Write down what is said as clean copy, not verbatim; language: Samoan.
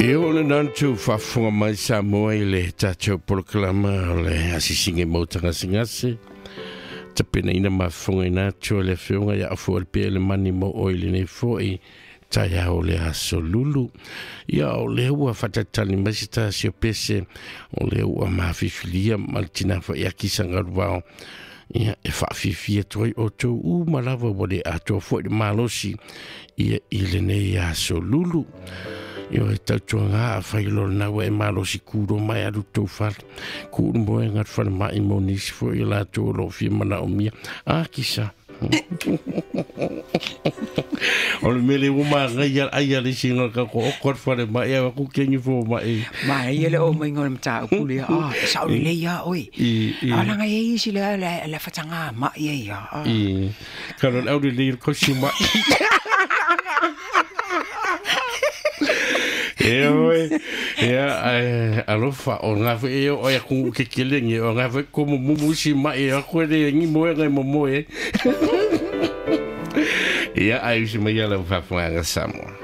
E o le nantu faafofoga mai Samoa i le tatou polokalama o le asiasiga i maota gasegase. Tapenaina ma fofogaina atu e le Afioga ia Afu Alipea le mani mo oe i lenei foi taeao o le aso lulu. Ia o lea ua faatalitali mai se tasi o pese o lea ua mafifilia ma le tina faiaki sagaluvao. Ia e faafifia atu ai outou uma lava ua le atoa foi le malosi ia i lenei aso lulu. Ia e tautuaga a fai lo lena ua e malosi kuro mai alu tou fale. Kuu le moega le falemai mo nisi foi o latou o lo o fia manaomia. A kisa. O le mele ua magaia ai a le isi ka ko o fale mai e aku kengi fo mai. Ma ia le o mai ngol mata u le a sa o le ia oi. A la ngai isi le le le fatanga ma ia ia. I ka lo au le ko si ma. E oi, ia alofa o ngā whe e o ia kungu ke kelenge o ngā whe komo mumu si mai e ako le ngi moe ngai mo moe. Ia ai usi mai ala faafofoga Samoa.